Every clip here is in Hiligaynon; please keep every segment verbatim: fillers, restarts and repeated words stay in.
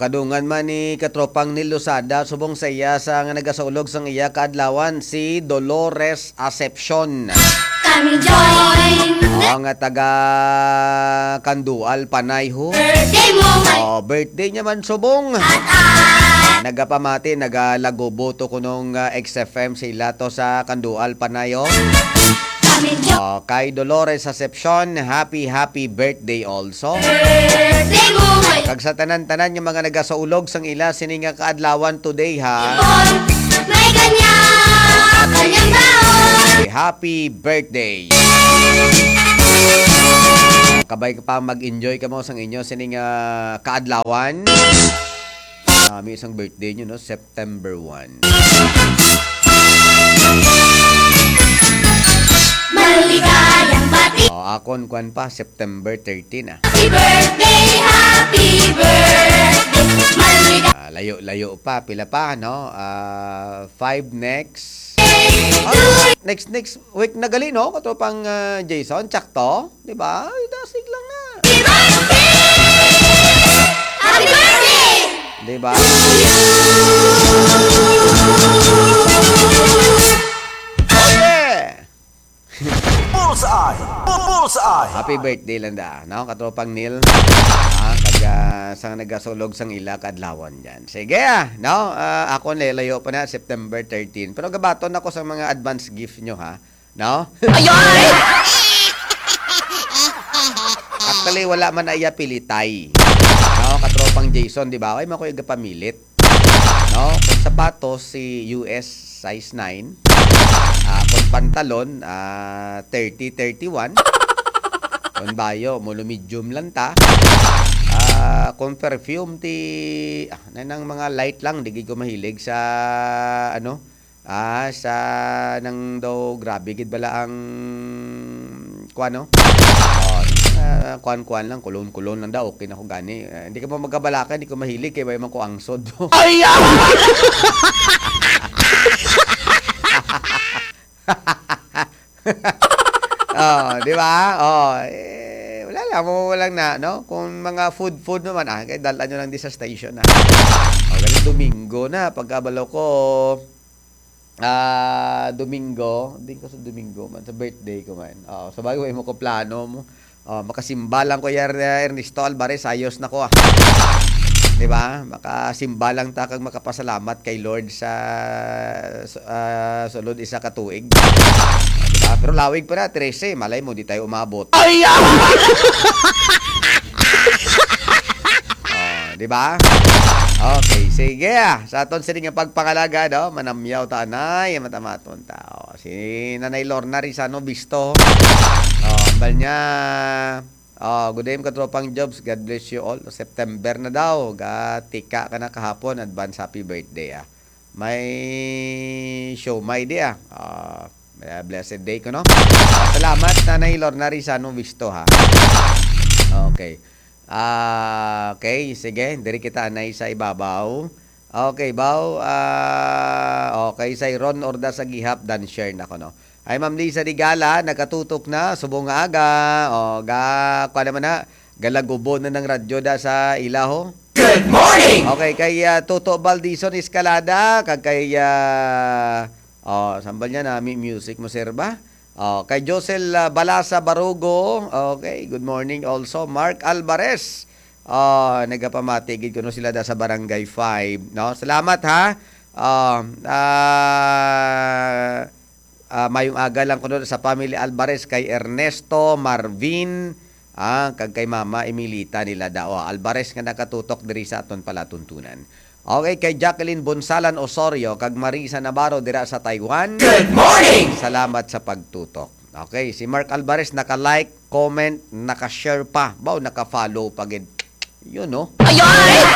Kadungan man ni katropang Neil Losada, subong sa iya sa nga nagasaulog sang iya kaadlawan, si Dolores Acepcion. Kami join. Oo, nga taga Kandual, Panay ho. Birthday mo, may Oh, birthday niya man subong. At, ah, Nagapamati, nagalagubo to kunong, ah, X F M sila to sa Kandual, Panay, oh. Kami join. Oh, kay Dolores Acepcion, happy, happy birthday also. Birthday mo, may Kag sa tanan-tanan nga mga nagasaulog sang ila sini nga kaadlawan today, ha. Ipon, may kanya, kanyang taon. Happy birthday. Kabay ka pa mag-enjoy kamo sang inyo sini nga kaadlawan. Ah, may isang birthday nyo, no? September one. Maligayang bati. Oh, akon kwan pa, September thirteen, ah. Happy birthday, happy birthday. Maligayang Ah, layo-layo pa, pila pa, no? Ah, five next. Oh, next, next week na gali, no? Katropang, ah, Jason, tsakto? Di ba? Ay, dasig lang na. Happy birthday! Happy birthday! Di ba? Oh, yeah! Bullseye! Bu-, Bullseye! Happy birthday lang da, no? Katropang Neil. Ah, kag, ah, sang nagasulog sang ila kadlawan dyan. Sige, ah, no? Ah, ako, layo pa na, September thirteen. Pero gabaton ako sa mga advance gift nyo, ha? No? Ayoy! Actually, wala man na iya pilitay. No? Katropang Jason, di ba? Ay, makuya pamilit. No? Kung sapatos, si U S size nine. Ah, kung pantalon, ah, thirty, thirty-one. Kung bayo, mulo medium lang ta. Ah, kung perfume, ti, ah, na nang mga light lang, di gid ko mahilig sa, ano, ah, sa nang daw grabe gid bala ang kuan, no? Oh, ah, kuan-kuan lang, kulon-kulon lang daw, okay na ko gani. Ah, hindi ka pa magkabalaka, hindi ko mahilig, kay may man ko angsod. Ay, ah! Oh, di ba? Oh, eh, wala lang, mo lang na, no? Kung mga food, food naman, ah, kay dala nyo lang di sa station, ah. Oh, ganun, Domingo na, pagkabalo ko, ah, Domingo, hindi ko sa Domingo man, sa birthday ko man. Oh, sa bagay, mo ko plano mo. Oh, makasimba lang ko, Yer-, Ernesto Alvarez, ayos na ko, ah. Di ba? Makasimba lang ta kag makapasalamat kay Lord sa, sa, ah, sulod isa ka tuig. Di ba? Pero lawig pa na, trese. Malay mo, di tayo umabot. Ay, ah! Oh, di ba? Okay, sige, ah. Sa aton sini nga pagpangalaga, no? Manamyaw ta, anay, matamaton ta. Oh, si Nanay Lorna Rizano Bisto. Oh, ambal niya. Oh, good day, katropang Jobs. God bless you all. September na daw. Gatika ka na kahapon. Advance happy birthday, ah. May show, may di, ah. Ah, blessed day ko, no? Ah, salamat, Nanay Lorna Rizano Visto, ha? Okay. Ah, okay, sige. Diri kita, Anay, sa ibabaw. Okay, baw. Ah, okay, sa Ron Orda sa Gihap, dan share na ko, no? Ay, Ma'am Lisa Digala, nakatutok na, subong nga aga. O, ga, kwa naman na, galagubo na ng radyo da sa ilaho. Good morning! Okay, kay, ah, Toto Baldison Escalada, kag kay, ah, oh, sambal niya na, mi-, music mo, sir, ba? Oh, kay Josel, ah, Balasa Barugo, okay, good morning also. Mark Alvarez, oh, nagapamati gid kuno sila da sa Barangay five, no? Salamat, ha? Ah, ah, Ah, mayong aga lang kuno sa family Alvarez, kay Ernesto, Marvin, ah, kag kay Mama Emilita nila Dao Alvarez nga nakatutok diri sa aton palatuntunan. Okay, kay Jacqueline Bonsalan Osorio kag Marisa Navarro dira sa Taiwan. Good morning! Salamat sa pagtutok. Okay, si Mark Alvarez naka-like, comment, naka-share pa. Baw, naka-follow pa gid. Yun, no? Ayoy!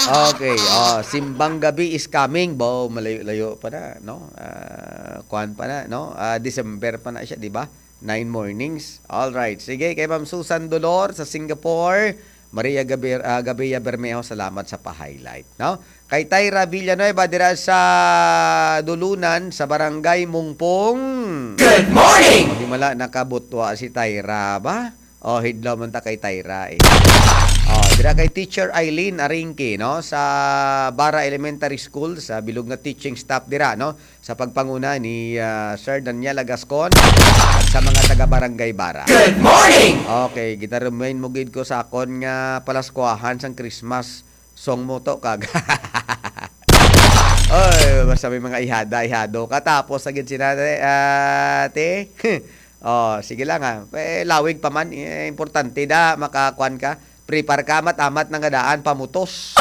Okay, oh, Simbang Gabi is coming. Bo, malayo-layo pa na, no? Ah, kuwan pa na, no? Ah, December pa na siya, di ba? Nine mornings. All right. Sige, kay Ma'am Susan Dolor sa Singapore. Maria Gabi-, ah, Gabia Bermejo, salamat sa pa-highlight, no? Kay Tyra Villanueva dira sa Dulunan, sa Barangay Mungpong. Good morning! O, di mala nakabutwa si Tyra ba? Oh, hidlaw man ta kay Tyra, eh. Oh, dira kay Teacher Eileen Aringki, no, sa Bara Elementary School, sa bilog nga teaching staff dira, no, sa pagpanguna ni, ah, Sir Daniel Agascon at sa mga taga Barangay Bara. Good morning! Okay, gina-remind mo gid ko sa akon nga palaskuahan sang Christmas song mo to, kag. Oy, basta may mga ihada, ihado ka. Tapos, sa gid sina, eh, ate. Oh, sige lang, ha. Eh, lawig pa man. Eh, importante da, makakuan ka. Prepare ka, amat-amat na nga daan, pamutos.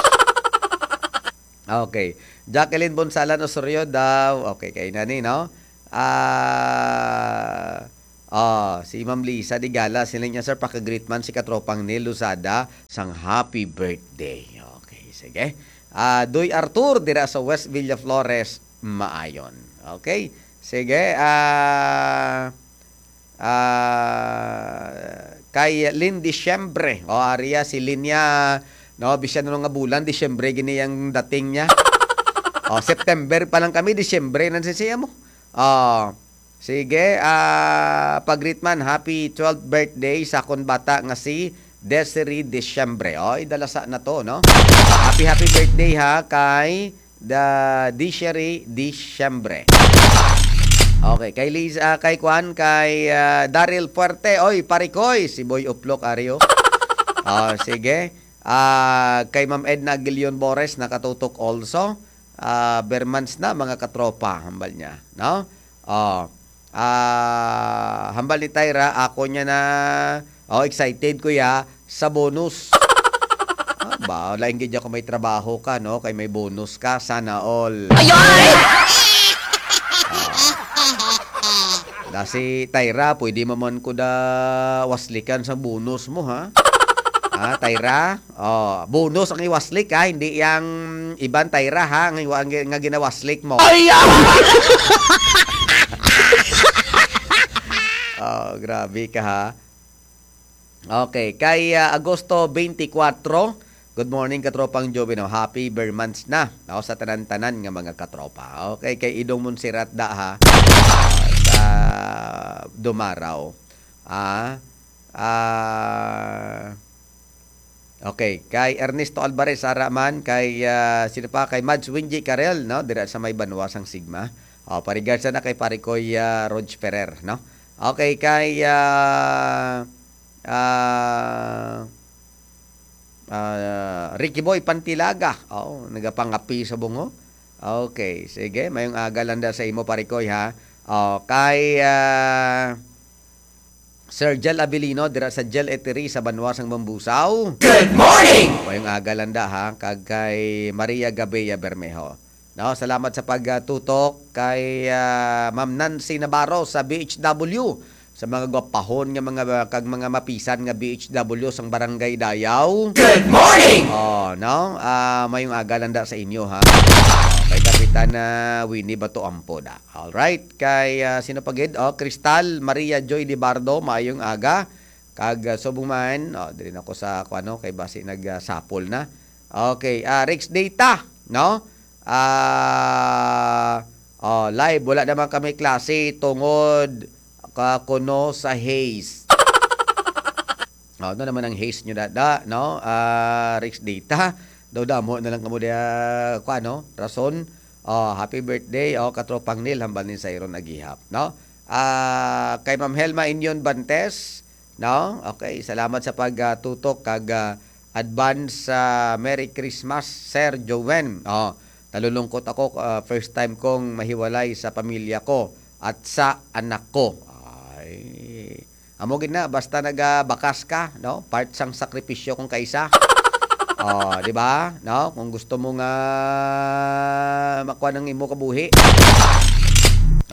Okay. Jacqueline Bonsalan Osorio daw. Okay, kay nani, no? Ah, oh, si Ma'am Lisa Digala, sila niya, "Sir, paka-greet man si katropang Neil Luzada sang happy birthday." Okay, sige. Ah, Doy Arthur, dira sa West Villaflores, Maayon. Okay? Sige, ah, ah, kay Lynn Diciembre. O, aria si Linya, no, bisan ano nga bulan, Diciembre gini ang dating niya. O, September pa lang kami, Diciembre na siya mo. O, sige, ah, pag-greet man, happy twelfth birthday sa akon bata nga si Desiree Diciembre. O, idalasa na to, no? Happy, happy birthday, ha, kay Da, Diciery Diciembre. Okay, kay Liz, ah, kay Kwan, kay, ah, Daryl Fuerte. Oy, parikoy, si Boy Uplok, ari, oh. Ah, sige. Ah, kay Ma'am Edna Aguilion Bores, nakatutok also. Ah, Bermans na, mga katropa, hambal niya, no? Oh. Ah, hambal ni Tyra, ako niya na, oh, excited ko ya sa bonus. Ah, ba, lain gid ako may trabaho ka, no? Kay may bonus ka, sana all. Ayoy! Ah. Da si Tyra, pwede mo man ko da waslikan sa bonus mo, ha? Ah, Tyra? Oh, bonus ang iwaslik, ha, hindi yang iban, Tyra, ha, ang iwa-, ang gi-, nga ginawaslik mo. Ay, ah! Oh, grabe ka, ha. Okay, kay, ah, Agosto twenty-four, good morning, katropang Joven. Oh, happy Bermans na, no, sa tanan-tanan nga mga katropa. Okay, kay Idong Montserrat da, ha, ah, sa Dumaraw. Ah, ah, Okay, kay Ernesto Alvarez, ara man, kay, ah, sino pa? Kay Mads Wingy Carel, no? Dira sa may Banwa sang Sigma. Oh, pa-regards na kay pare ko, ah, Rog Ferrer, no? Okay, kay, ah, ah, ah, Ricky Boy Pantilaga. Oh, nagapangapi sa bungo. Okay, sige, mayong aga lang da sa imo, pare ko, ha. Oh, kay, ah, Sir Jel Abilino dira sa Jel Eatery sa Banwa sang Mambusaw. Good morning! Mayong aga lang da, ha, kag kay Maria Gabea Bermejo. No, salamat sa pagtutok kay, ah, Ma'am Nancy Navarro sa B H W, sa mga gwapahon nga mga, kag mga mapisan nga B H W sang Barangay Dayaw. Good morning! Oh, no? Ah, mayong aga lang da sa inyo, ha. Oh, kay Kapitan, ah, Winnie Bato Ampo da. Alright, kay, ah, sino pa gid? Oh, Cristal Maria Joy Libardo, maayong aga. Kag, ah, subong man, oh, diri na ko sa, kung ano, kay basi nag, ah, sapol na. Okay, ah, Rex Data, no? Ah, oh, live, wala naman kami klase tungod ka kuno sa haze. Oh, ano naman ang haze nyo, dada, no? Ah, Rex Data, daw damo na lang kamo diya, kung ano, rason. Oh, happy birthday, oh, katropang Neil, hambal ni Sayron Agihap, no? Ah, kay Ma'am Helma Inyon Bantes, no? Okay, salamat sa pag, ah, tutok kag, ah, advance, ah, Merry Christmas, Sir Joven. Oh, nalulungkot ako, ah, first time kong mahiwalay sa pamilya ko at sa anak ko. Ay, amo gid na, basta nagabakas ka, no? Part sang sakripisyo kung kaisa. Oh, di ba? No? Kung gusto mo nga makuha ng imo kabuhi.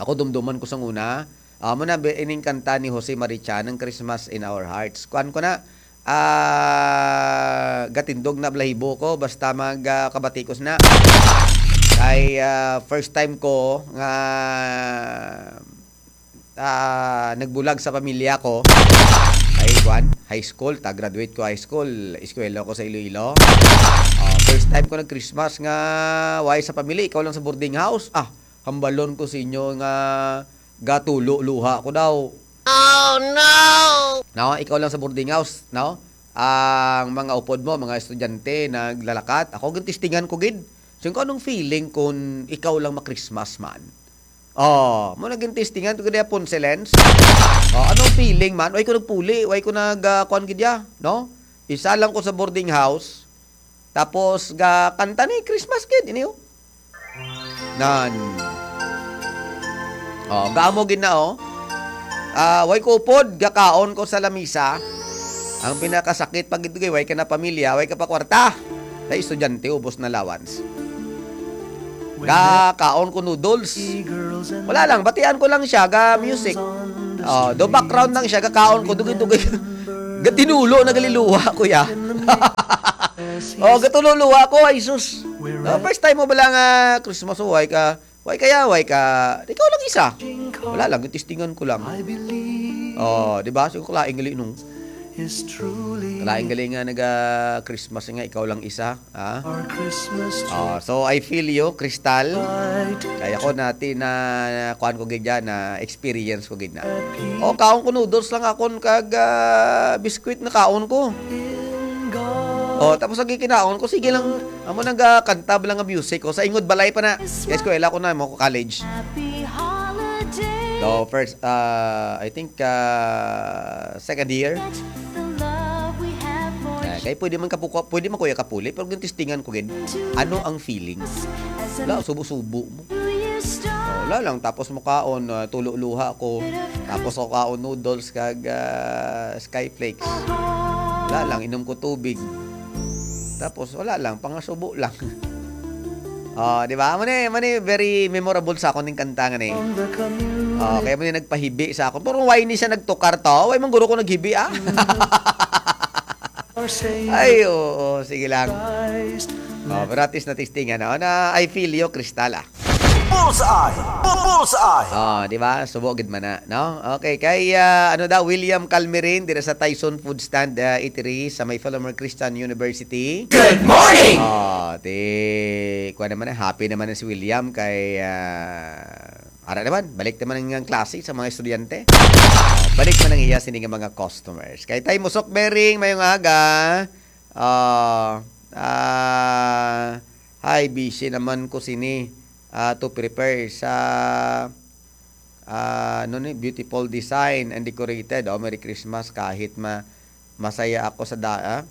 Ako, dumduman ko sang una. Amo na, be, ining kanta ni Jose Marichan, ang Christmas in Our Hearts. Kuan ko na, ah, gatindog na balahibo ko, basta mag, ah, kabatikos na. Kay, ah, first time ko nga ah, nagbulag sa pamilya ko. Ay, kwan, high school, ta graduate ko high school, eskwela ko sa Iloilo. Ah, first time ko nag-Christmas nga way sa pamilya, ikaw lang sa boarding house. Ah, hambalon ko sa inyo nga gatulo luha ko daw. Oh, no! No, ikaw lang sa boarding house, no? Ang mga upod mo, mga estudyante, naglalakat. Ako, gintistingan ko gid. So, kung anong feeling kung ikaw lang ma-Christmas man? Oh, mo naging testingan ko gid, Ponce Lens. Oh, anong feeling man? Way ko nagpuli, way ko nag, ah, kuwan gid ya, no? Isa lang ko sa boarding house. Tapos ga kanta ni Christmas kid ini, oh. Nan. Oh, gamo gid na, oh. Ah, way ko upod, gakaon ko sa lamisa. Ang pinakasakit pa gid, way ka na pamilya, way ka pa kwarta. Sa estudyante, ubos na allowance. Ga kaon ko noodles. Wala lang, batian ko lang siya ga music. Oh, do background lang siya, ga kaon ko, dugi-dugi. Gatinulo, nagaliluha ko ya. Oh, gatululuha ko, ay sus. No, first time mo bala nga Christmas, oh, way ka, way kaya, way ka, ikaw lang isa. Wala lang, testingan ko lang. Oh, di ba? So, kalaing gali nung. Kalaing gali nga naga Christmas nga ikaw lang isa, ha? Oh, so I feel you, Crystal. Kaya ko nati na, na kuan ko gid dyan, na experience ko gid na. Oh, kaon ko noodles lang akon kag ah, biskwit na kaon ko. Oh, tapos lagi kinaon ko, sige lang. Amo nang ah, kanta lang ang music ko. Sa ingod balay pa na. Sa eskwela ko na, mo ko college. Happy holiday. So first, ah, I think ah, second year. The love we have for Ah, kay pwede man kapuko, pwede man kuya kapuli, pero gintistingan ko gid. Ano ang feelings? Wala, subo-subo mo. Wala lang, tapos mo kaon, ah, tulo luha ko. Tapos ako kaon noodles kag ah, skyflakes. Wala lang, inom ko tubig. Tapos wala lang, pangasubo lang. Oh, di ba? Amo ni, amo ni very memorable sa akon ning kanta nga ni. Oh, kaya mo ni nagpahibi sa akon. Pero why ni siya nagtukar to? Why man guro ko naghibi, ah? Ay, oo, sige lang. Oh, pero at least natistingan, no? Na I feel you, Crystal, ah. Bullseye! Bullseye! Oh, di ba? Subo gid man na, no? Okay, kay ah, ano daw, William Calmerin, dira sa Tyson Food Stand ah, Eatery sa may Philomer Christian University. Good morning! Oh, di, kuha naman na, happy naman na si William kay ah, ara naman, balik naman ang klase sa mga estudyante. Balik man ang iya sini nga mga customers. Kay Tay Musok Bering, mayong aga. Ah, ah, hi, busy naman ko sini ah, to prepare sa ah, ano ni, beautiful design and decorated. Oh, Merry Christmas kahit ma masaya ako sa da ah,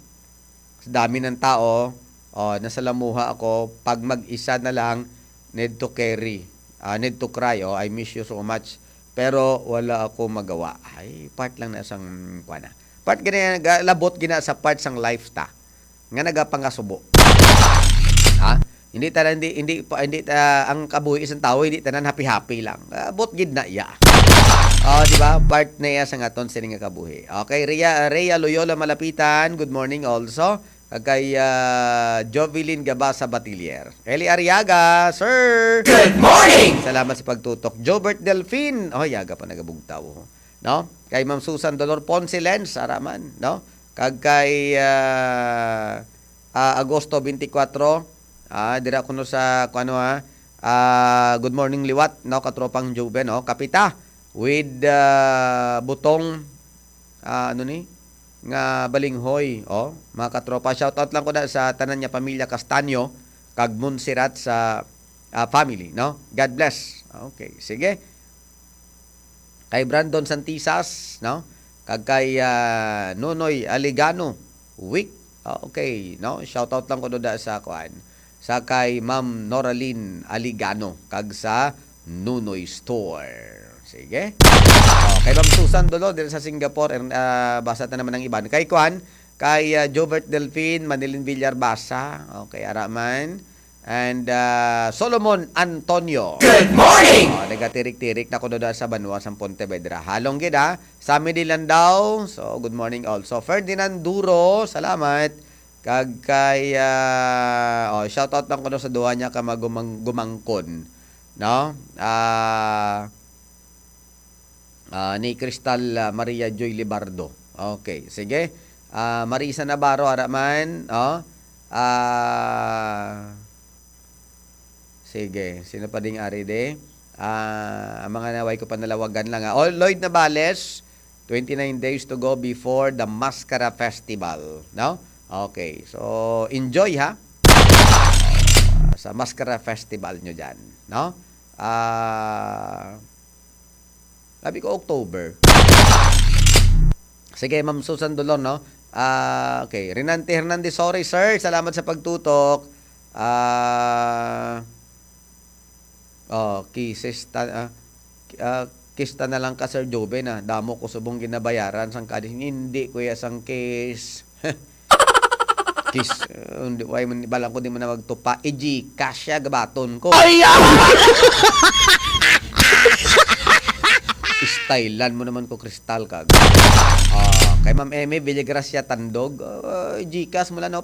sa dami ng tao. Oh, nasalamuha ako pag mag-isa na lang, need to carry, ah, need to cry. Oh, I miss you so much. Pero wala ako magawa. Ay, part lang na sang kuan na. Part gina labot gina sa part sang life ta nga nagapangasubo. Ha? Hindi tanan, hindi, hindi pa, hindi ta, ang kabuhi isang tawo hindi tanan happy-happy lang. Abot gid na iya. Oh, di ba? Part na iya sa aton sini nga kabuhi. Okay, Rhea, Rhea Loyola Malapitan, good morning also. Kag kay ah, Jovelyn Gabasa Batilier. Eli Arriaga, sir! Good morning! Salamat sa pagtutok. Jobert Delfin. Oh, yaga pa nagabugtaw. No? Kay Ma'am Susan Dolor Ponce Lenz, ara man, no? Kag kay ah, ah, Agosto twenty-four, ah, dira kuno sa, kuno, ha? Ah, good morning liwat, no, katropang Joven, no? Kapita with ah, butong ah, ano ni? Nga balinghoy, oh, mga katropa. Shout out lang ko na sa tanan niya pamilya Castaño kag Montserrat sa ah, family, no? God bless. Okay, sige. Kay Brandon Santisas, no? Kag kay ah, Nonoy Aligano, Wick. Ah, okay, no? Shout out lang ko da sa kuan. Sa kay Ma'am Noraline Aligano kag sa Nunoy Store. Sige. Oh, kay Ma'am Susan Dolo diri sa Singapore, er, ah, basa ta naman ang iban. Kay kuan, kay ah, Jobert Delfin, Manilin Villar basa. Okay, ara man. And ah, Solomon Antonio. Good morning! Oh, nagatirik-tirik na ko doon sa banwa sa Pontevedra. Halong gid, ha. Sammy Dilandao. So, good morning also. Ferdinand Duro, salamat. Kag kay ah, oh, shout out lang ko doon sa duha niya ka magumang gumangkon, no? Ah, ah, ni Crystal ah, Maria Joy Libardo. Okay, sige. Ah, Marisa Navarro, ara man, oh. Ah, sige, sino pa ding ari de? Ah, ang mga naway ko panalawagan lang, ha. Oh, Lloyd Navales, twenty-nine days to go before the Mascara Festival, no? Okay. So, enjoy, ha. Sa Mascara Festival nyo dyan, no? Ah, sabi ko, October. Sige, Ma'am Susan Dolor, no? Ah, okay. Renante Hernandez, sorry, sir. Salamat sa pagtutok. Ah, oh, kisis ta, ah, ah, kista na lang ka, Sir Joven, ah. Damo ko subong ginabayaran sang kadis. Hindi, kuya, sang kis. Kis, uh, hindi, why man, balang ko di mo na magtupa. I-Gcash siya, gabaton ko. Ay, ah! Stylean mo naman ko, Crystal, kag. Ah, kay Ma'am Emmy Villagracia Tandog, ah, Gcash mo lang, no?